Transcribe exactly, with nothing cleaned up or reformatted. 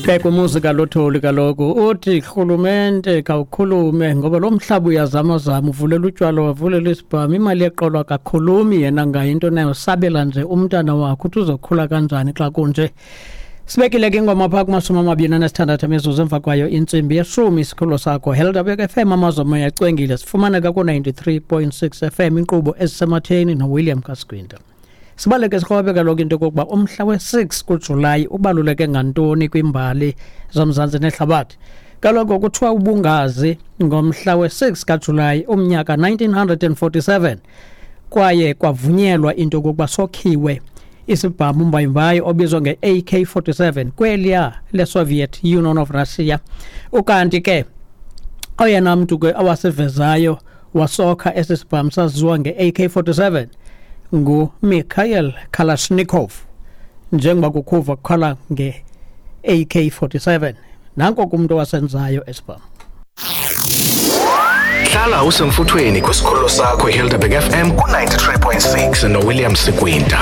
Bheka umuzi kaLuthuli kaloku uthi rhulumente khawukhulume ngoba lo mhlaba uyazamazama, uvulela utywala, wavulela isibhamu, imali yeqolo akakhulumi yena ngayo into nayo, sabela nje umntana wakhe uthi uzokhula kanjani xa kunje. Sibekile ke ingoma phaa kumashumi amabini anesithandathu emizuzu emva kwayo intsimbi yeshumi. Isikhululo sakho Helderberg F M, amazomoya acwengile, sifumaneka ku-ninety-three point six F M, inkqubo ezisematheni noWilliam Kasquinta. Sibaleke sikrobe kaloku into yokokuba umhla we-six kuJulayi ubaluleke ngantoni kwimbali zoMzantsi nehlabathi. Kaloku kuthiwa ubungazi ngomhla we-six kaJulayi umnyaka nineteen hundred and forty-seven kwaye kwavunyelwa into yokokuba sokhiwe isibhamu mbayimbayi obizwa nge-A K forty-seven kweliya le-Soviet Union of Russia. Ukanti ke oyena mntu ke awasivezayo wasokha esi sibhamu saziwa nge-A K forty-seven nguMikhail Kalashnikov, njengoba kukhuva kukhala nge-A K forty-seven. Nanko kumntu owasenzayo esibhamu. Hlala usemfuthweni kwisikhululo sakho iHelderberg F M ku-ninety-three point six noWilliam Sikwinta.